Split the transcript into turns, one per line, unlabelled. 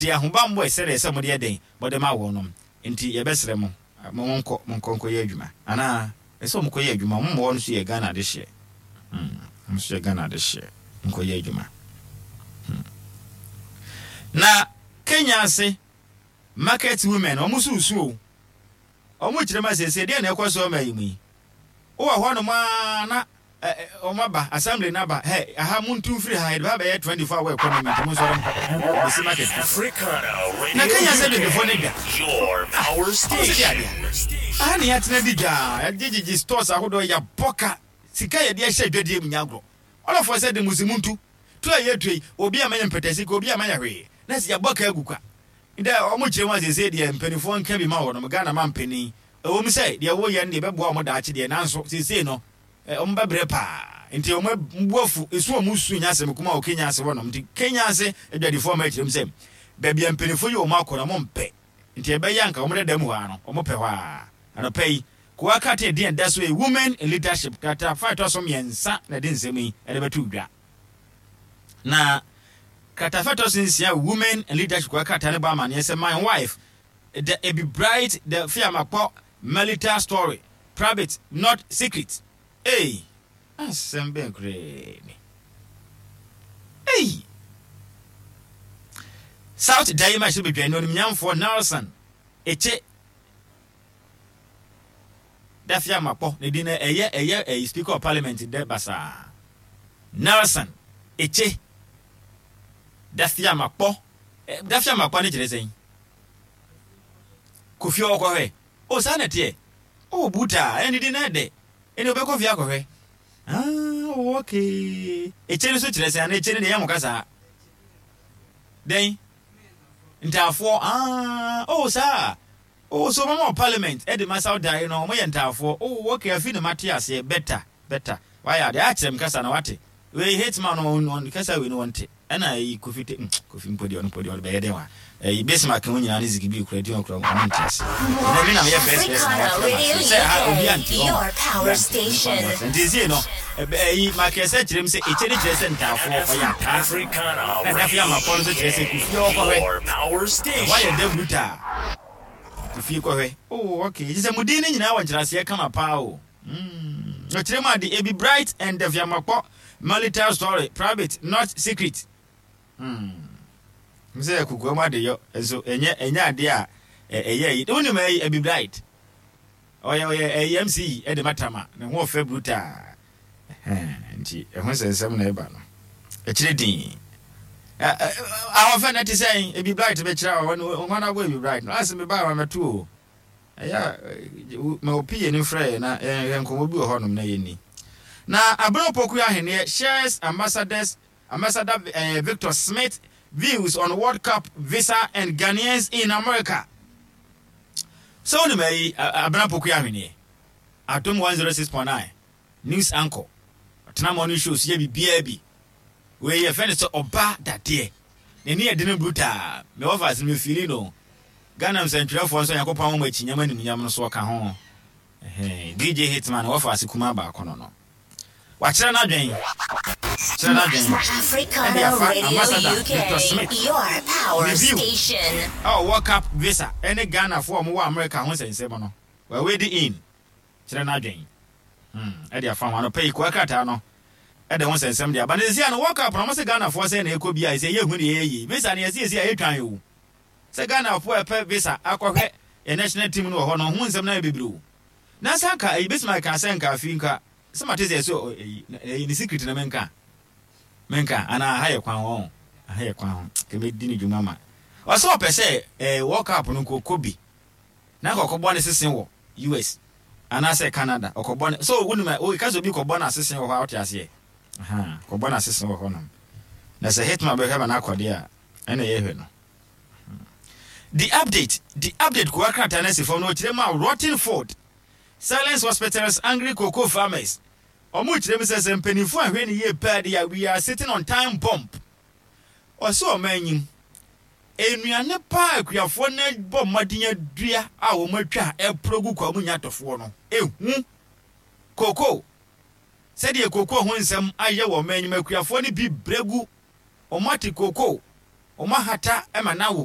Deɛ ahobammɔ ɛsɛ deɛ sɛ mode yɛ dɛn mode ma wɔnom nti yɛbɛsrɛ mo mo monkɔ monkɔ nkɔyɛ adwuma anaa ɛsɛ wɔn kɔyɛ adwuma wɔn mmoa no so yɛ Ghana adehyeɛ hmm wɔn nso yɛ Ghana adehyeɛ nkɔyɛ adwuma hmm na Kenya ase market women wɔn nso resu o wɔn kyerɛ ma sɛsɛ deɛ na ɛkɔ so ɔma yi mu yi wowɔ hɔ nom ara na Wɔn aba, assembly no aba, hɛ, aha, montu mfiri ha, yɛde ba abɛyɛ 24 hour economy, nti monsɔre nkɔ, bɛsi market foforɔ. Na Kenya sɛ Abibifoɔ no dwa. Ah, wɔn sɛ deɛ adeɛ. Aha ne yɛatena di dwa, yɛgyegyegye stores ahodoɔ, yɛabɔ ka, sika yɛde ahyɛ adwadie mu nyɛ agorɔ. All of us sɛ de mo se montu, tu a yɛtu yi, obi amma yɛn mpɛtɛ sika, obi amma yɛn hwee, na sɛ yɛabɔ ka agu kwa. Ndɛ wɔn kyerɛ mu a seesei deɛ mpaninfoɔ nka bi ma wɔnom, Ghana mampanin, ɛwɔ mu sɛ deɛ woyɛ no deɛ ɛbɛboa wɔn daakye deɛ, nanso seesei no, Wɔn bɛbrɛ paa nti wɔn bo afu, esu a wɔn su nyɛ asɛm kumaa wɔ Kenya ase hɔnom nti Kenya ase adwadifoɔ ama akyerɛ mu sɛ baabi a mpaninfoɔ yi wɔn akɔ no wɔn mpɛ nti ɛbɛyɛ anka wɔn dada mu hɔ ara no wɔn pɛ hɔ ara. Anɔpa yi Kowa Carter din a ɛda so yi Women in Leadership krataa fa a ɛtɔ so mmiɛnsa na ɛde nsɛm yi ɛde bɛto dwa. Na krataa fa ɛtɔ so nsia Women in Leadership Kowa Carter no bɔ amaneɛ sɛ my wife the Ebi Bright the Fiamakpɔ Melita story Private not secret ei asɛm bɛn koraa ni ei South Dayi ma hyɛ badwa no onimnyamfoɔ Nelson Eche Dafiamakpɔ ne din no ɛyɛ ɛyɛ ɛyi Speaker of Parliament dɛ basaa Nelson Eche Dafiamakpɔ Dafiamakpɔ ne kyerɛ sɛn Kofi ɔkɔhwɛ Oh saa na ɛteɛ? Oh Buta, ɛne din no ɛdɛ. Ɛne wobɛkɔ fie akɔhwɛ. Ah, oh okay. Ekye no so kyerɛ sɛn anaa ekye no deɛ ɛyɛ mo kasaa? Dɛn? Ntaafoɔ. Ah, oh saa. Oh so wɔn wɔ parliament ɛde ma South Dayi no wɔn yɛ ntaafoɔ. Oh okay afi na mate aseɛ better better. Wayɛ adeɛ akyerɛ me kasa na wate. Wei Hitman no ɔn kasa wei no ɔnte. Ɛna ɛyi Kofi te mm Kofi mpo deɛ ɔno mpo deɛ ɔde bɛyɛ dɛn wa ɛyi Bismarck ho nyinaa ne Ziggy Bill kura di wɔn kura wɔn nte ase. Ɛnɛ me na meyɛ first person a wakyerɛ ma ase sɛ ha obi ante wɔn obi ante nfa no ase nti esie no ɛyi makɛsɛ kyerɛ mu sɛ ekyɛ ne kyerɛ sɛ ntaafoɔ ɔyɛ ataa na dafe amakɔ no nso kyerɛ sɛ kofie ɔkɔhwɛ ɛhɔ ayɛ dɛ brutal kofie kɔhwɛ oh okay kyerɛ sɛ mo din no nyinaa wɔ nkyerɛaseɛ kama paa o. Mm. Ɔkyerɛ mu ade, ebi bright and afiamakpɔ marital story, private, not secret. Mm. Sɛ kokoa mu adeyɔ nso ɛnyɛ ɛnyɛ ade a ɛyɛ yi. Wonim ɛyi ebi bright. Ɔyɛ ɔyɛ ɛyi MC ɛde matama ne ho ɔfɛ brutal. Nti ɛho nsɛnsɛm na ɛba no. Ɛkyerɛ din. Ahɔfɛ na ɛte sɛn ebi bright bɛkyerɛ a wɔn wɔn abɔ ebi bright no. Asɛ mebaa wɔn mɛto o. Ɛyɛ a, ma wo PA no mfrɛ yɛn na yɛn nkɔmmɔ bi wɔ hɔnom na yɛnni. Na Abena Opoku Aheneɛ shares Ambassadors Ambassador eh, Victor Smith views on World Cup visa and Ghanaians in America. Sɛ wonim ayi Abena Opoku Ahweneɛ, Adom 106.9 news anchor, ɔtena morning show so yɛ biribiara bi. Wei yɛfrɛ no sɛ ɔba dadeɛ. N'ani yɛ dene brutal. Me wɔfa ase no me feeli no. Ghana nsɛntwerɛfoɔ nso Nyankopɔn ama wɔn akyinyam animuonyam no so ɔka ho. Ɛhɛn, DJ Hitman wɔfa ase kumaa baako no no. Wakyerɛ n'adwen. Kyerɛ n'adwen. Ɛde afa Ambassador Victor Smith ne view ɛwɔ World Cup visa ɛne Ghanafoɔ a wɔwɔ America ho nsɛnsɛm no. Wawedi in. Kyerɛ n'adwen. Hmm, ɛde afa ho. Anɔpa yi, koa krataa no ɛde ho nsɛnsɛm de aba. Na sɛsi a no World Cup no, wɔn se Ghanafoɔ sɛn na ɛkɔ bi a, ɛsɛ yɛhu deɛ ɛyɛ yie. Visa no yɛse yɛsi a yɛtwan o. Sɛ Ghanafoɔ a ɛpɛ visa akɔhwɛ yɛn national team no wɔ hɔ no, ho nsɛm no ayɛ bebree o. Na sɛ anka ɛyi Bismarck kaa sɛ nka afei nka sɛ mate sɛ ɛsɛ ɛyi ɛyi ne secret na menka menka anaa aha yɛ kwan ho aha yɛ kwan ho kɛmɛ di ne dwuma ma ɔsɛ ɔpɛ sɛ ɛɛ World Cup no nko kɔ bi na nka ɔkɔbɔ ne sese wɔ US anaasɛ Canada ɔkɔbɔ ne so wonim a ka sɛ obi kɔbɔ no asese wɔ hɔ a wote aseɛ aha kɔbɔ no asese wɔ hɔ nom na sɛ hitman bɛhwɛ ma no akɔde a ɛna yɛhwɛ no The update The update kowa krataa no asi fam na ɔkyerɛ mu a rotten food silence hospitals angry cocoa farmers ɔmo kyerɛ mu sɛ sɛ mpanimfoɔ anhwɛ ne yie paa de a we are sitting on time bomb ɔsɛ ɔman nyim Nnuane pa a akuafoɔ no bɔ mmɔden adua a wɔatwa a ɛporɔ gu kwa mu nya atɔfoɔ no, ehu. Kookoo. Sɛdeɛ kookoo ho nsɛm ayɛ wɔ ɔman yi mu, akuafoɔ no bi brɛ gu. Wɔate kookoo. Wɔahata ma no awo.